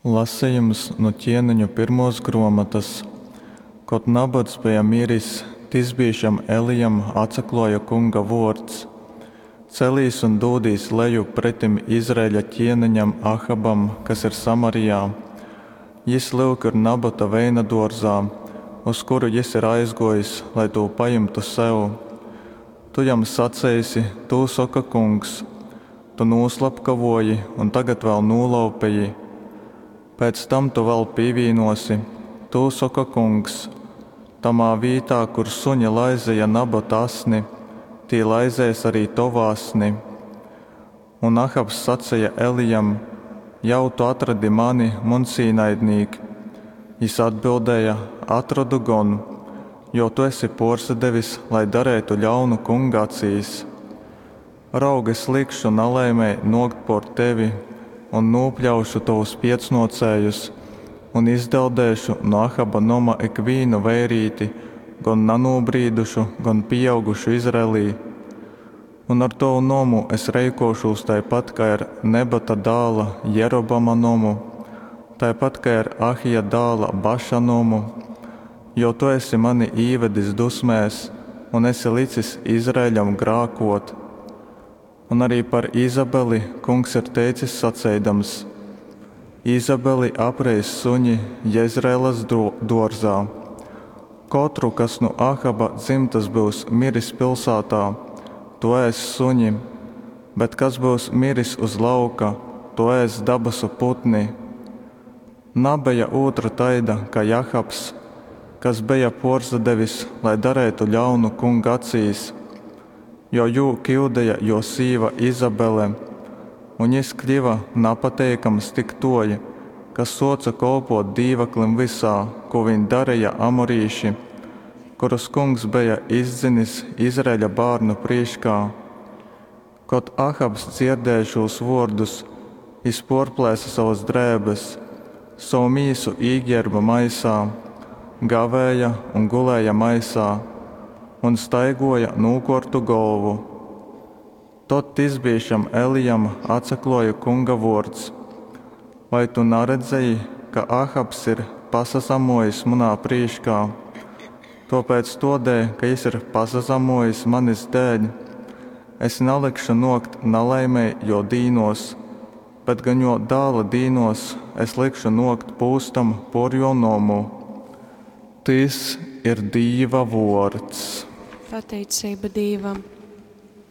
Lasejums nu Ķieneņu pyrmuos gruomotys. Kod Nabots beja miris, tisbīšam Elijam atsakluoja Kunga vuords, Celīs un dūdīs lejup pretim Izraeļa ķieneņam Ahabam, kas ir Samarijā. Jis, lyuk, ir Nabota veinaduorzā, uz kuru jis ir aizguojis, lai tū pajimtu sev. Tu jam saceisi, Tū soka Kungs, Tu nūslapkavoji un tagad vēl nūlaupeji? Pēc tam tu vēl pīvīnuosi, Tū soka Kungs, Tamā vītā, kur suņi laizeja Nabota asni, tī laizeis arī tovu asni. Un Ahabs saceja Elijam, Jau tu atradi mani, muns īnaidnīk! Jys atbildēja, Atrodu gon, jo tu esi pōrsadevis, lai dareitu ļaunu Kunga acīs. Raug, es likšu nalaimei nōkt pōr tevi un nūpļaušu tovus piecnōcējus un izdeldēšu nu Ahaba noma ikvīnu veirīti, gon nanūbrīdušu, gon pīaugušu Izraelī. Un ar tovu nomu es reikōšūs taipat kai ar Nebata dāla Jeroboama nomu, taipat kai ar Ahija dāla Baša nomu, jo tu esi mani īvedis dusmēs un esi licis Izraeļam grākōt. Un arī par Izabeli Kungs ir teicis saceidams, Izabeli apreis suņi Jezreelas dōrzā. Kotru, kas nu Ahaba dzymtas byus miris pilsātā, tū ēss suņi, bet kas byus miris uz lauka, tū ēss dabasu putni. Nabeja ūtra taida kai Ahabs, kas beja pōrsadevis, lai dareitu ļaunu Kunga acīs, jo jū kyudeja jō sīva Izabele. Un jys kļyva napateikams tik tōļ, ka sōce kolpōt dīvaklim vysā, kū viņ dareja amorīši, kurus Kungs beja izdzinis Izraeļa bārnu prīškā. Kod Ahabs dzierdēja šūs vōrdus, jys pōrplēse sovas drēbes, sovu mīsu īgērba maisā, gavēja un gulēja maisā, un staigōja nūkōrtu golvu. Tod tisbīšam Elijam atsaklōja Kunga vōrds, Vai tu naredzeji, ka Ahabs ir pasazamōjis munā prīškā? Tōpēc tōdēļ, ka jys ir pasazamōjis manis dēļ, es nalikšu nōkt nalaimei jō dīnōs, bet gon jō dāla dīnōs es likšu nōkt pūstam pōr jō nomu. Tys ir Dīva vōrds. Pateiceiba Dīvam.